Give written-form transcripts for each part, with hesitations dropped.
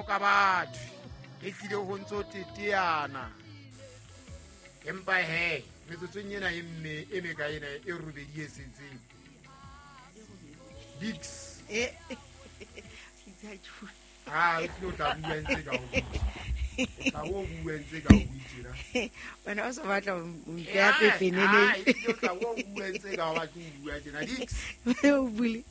Ka batho e tlile ho ntso teteana, empa he metsotsong ena e mme e meka ena e robedi e setseng dix. Eh. A o tlile o tla bua ntse ka o tla o bua ntse ka o tjena. Wena o so batla ho mpeha pepenene. Ah, e tla o bua ntse ka o batla ho bua tjena dix. O bule.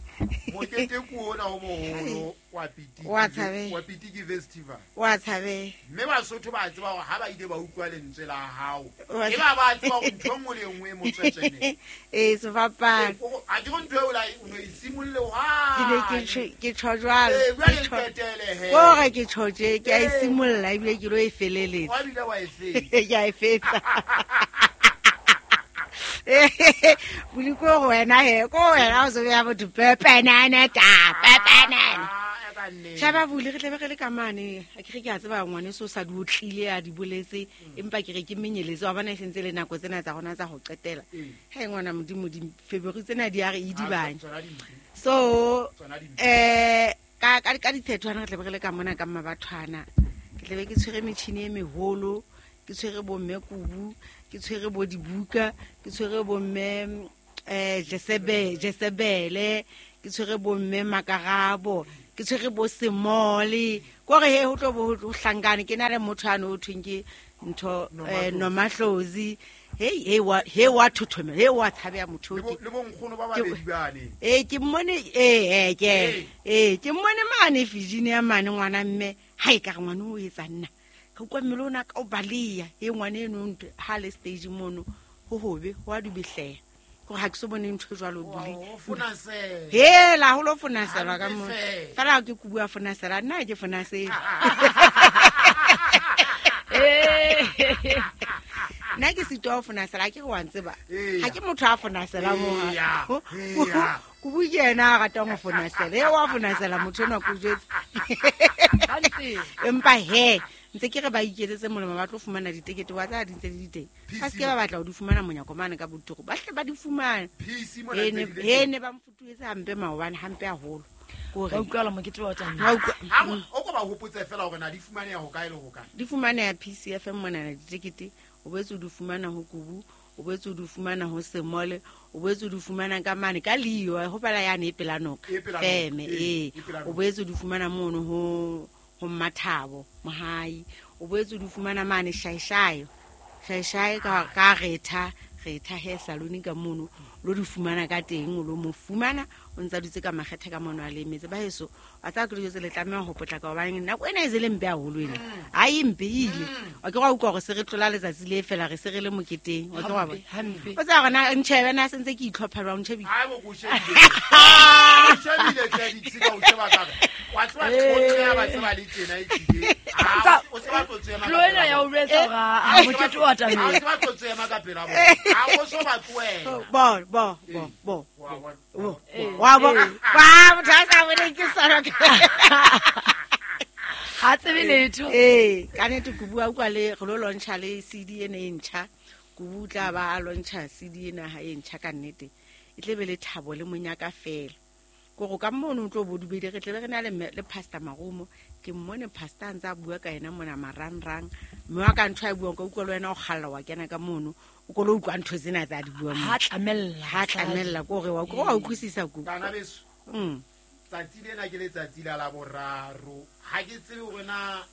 Mokete ke ona o moholo wa Pitiki. Wa tshabeha. Wa Pitiki Festival. Wa tshabeha. Mme Basotho ba tseba hore ha ba ile ba utlwa lentswe la hao, Wa e ba ba tseba hore ntho e nngwe le e nngwe e motswetswene. Ee, sefapano. A ke re ntho eo o no e simolle Ke ne ke hwane. ke tjho jwalo. Ee, jwale Ke tjho- qetele he. Kore ke tjho tje, ke a e Ee. simolla ebile ke lo e feleletsa. Wa bile wa e fetsa. Ke a e fetsa. Buli ko go wena he, ko wena o so beha botho pepenene ta, pepenene. Ah, e ka nnete. Shaba bule re tlabe re le ka mane. Ha ke re ke a tseba ngwaneso o sa di otlile a di boletse, empa ke re ke menyeletse wa bona e sentse le nako tsena tsa rona tsa ho qetela. Ee. He ngwana Modimo di February tsena di a re Ah, idibanya. tsona di mpe. So Tsona di mpe. ka dithethwana re tlabe re le ka mona ka mmabathwana. Ke tlabe ke tshwere metjhini e meholo, ke tshwere bomme kubu, ke tshwere bo dibuka, ke tshwere bomme Jesebele, ke tshwere bomme Makarabo, ke tshwere bo Semole. Kore he ho tlo bo ho hlankane ke na le motho ane ho thweng ke ntho Nomahlozi. Nomahlozi. Hei, hei wa, hei wa thothomela, hei wa tshabeha motho Le o ke. bo nkgono ba babedi bane. Ee, ke mmone, ee, ee, ke Ee. ee, ke mmone mane Virginia mane ngwana mme. Ha e ka re ngwana o etsa nna. Ka utlwa mmele ona ka o baleya. E ngwana eno ntho ha le stage mono ho hobe, ho a dubehleha. Hore ha ke so bone ntho e jwalo bule. Wa ho fonasela. Hela, ho lo fonaselwa ka Hampe mona. feela. Fela ha ke bua fonasela, nna ha ke fonasele. Eh. Nna ke sitwa ho fonasela, ha ke re wa ntseba. Eya. Ha ke motho a fonasela mo. Eya, eya. Kubu ke yena a ratang ho fonasela. E wa fonasela motho enwa ke o jwetse. Hantle. Empa he, ntse ke re ba iketsetse molemo ba tlo fumana ditekete wa tsa di ntse di le teng. Ba se ke ba batla ho di fumana monyako mane ka botoro. Ba hle ba di fumane. PC mona He ntse ne di le he teng. ne ba mfutuetse hampe maobane, hampe haholo. Ke hore Wa utlwala mokete wa tsamaya. Ha utlwa- Ha o ko ba hopotse fela hore na di fumaneha ho kae le ho kae. Di fumaneha PCFM monana ditekete, o boetse o di fumana ho Kubu, o boetse o di fumana ho Semole, o boetse o di fumana ka mane ka Leo, ho pela yane e pela noka. E pela noka, Feme, ee, ee. e pela O noka. boetse o di fumana mono ho Mmathabo, Mohai. O boetse o di fumana mane Shaeshae. Shaeshae ka Retha, Retha hair salon ka mono, lo di fumana ka teng, o lo mo fumana, o ntsa dutse ka makgethe ka mono a le emetse. Ba heso, wa tseba ke dijo tse le tlameha ho potlaka hobane nako ena e se le mpe haholo ena. Ha e mpe e ile. Wa ke wa utlwa hore se re tlola letsatsi le fela re se re le moketeng. Wa ke wa bona. Hampe, hampe. O tseba hore na ntjhebe na se ntse ke itlhopha jwang, o ntjhebile. Hae bo ko shebile. O shebile hle Dix ka o sheba ka re. Wa tseba tlotle ba tseba le tjena e tlile. Ah, o se ba tlo tsema. Tlo ena ya o jwetsa hore a mokete wa Ha o tsamaya. se ba tlo tsema ka pela bona. Ha o so ba tlohela. Bo, bo, bo, bo. Wa bona. Bo, Eh, wa bo. eh. Wa motho a sa boneng ke sona. Ha tsebe letho. Ee, ka nnete Kubu a utlwa le re lo launcha le CD ena e ntjha. Kubu o tla ba a launcha CD ena ha e ntjha ka nnete. E tle be le thabo le monyaka fela. Kore ka mono o tlo bo dubedi re tlebe re na le le Pastor Marumo. Ke mmone pastor a ntse a bua ka yena mona marangrang. Mme wa ka ntho a e buang ka utlwa le wena o kgalla wa kena ka mono. O ko lo utlwa ntho tsena tsa di buang Ha mono. tlamella. Ha tlamella kore wa wa utlwisisa Kubu. Bana beso. Tsatsi lena ke letsatsi la Laboraro. Ha ke tsebe hore na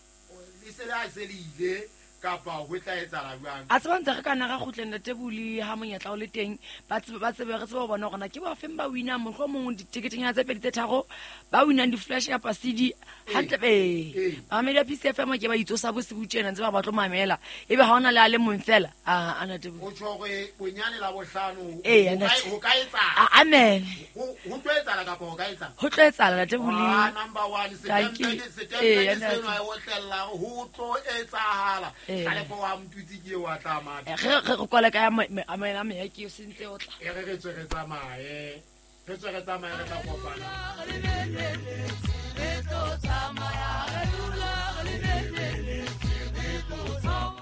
le se le a se le ile kapa ho tla etsahala jwang. A tseba ntse re ka nna ra kgutleng ntate Buli ha monyetla o le teng, ba tsebe, ba tsebe, re tsebe ho bona hore na ke ba feng ba winang, mohlomong diteketenyana tse pedi tse tharo, ba winang di-flash kapa CD. Hantle, ee. Ee. Bamamedi ba PCFM ke ba itsosa bosibu tjena, ntse ba ba tlo mamela. Ebe ha hona le a le mong fela. Ah, a ntate Buli. O tjho hore bonyane Labohlano Ee, ntate. ho ka etsahala. Ah, amen. Ho tlo etsahala kapa ho ka etsahala? Ho tlo etsahala ntate Buli. Ah, number one, Thank you. setempe Ee, ke ntate. seno e otlella ho tlo etsahala. Ee. Tlalepo wa Mtutsi ke eo a tla matha. Eh, re kwale ka ya a meya ke o sentse o tla. E re re tswe re tsamaye. Re tswe re tsamaye re tla kopana.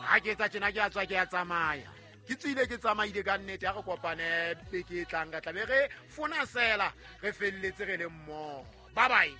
Ha ke etsa tjena ke a tswa ke a tsamaya. Ke tswile ke tsamaile ka nnete, ha re kopane beke e tlang ka tla be re fonasela, re felletse re le mmoho. Bye bye.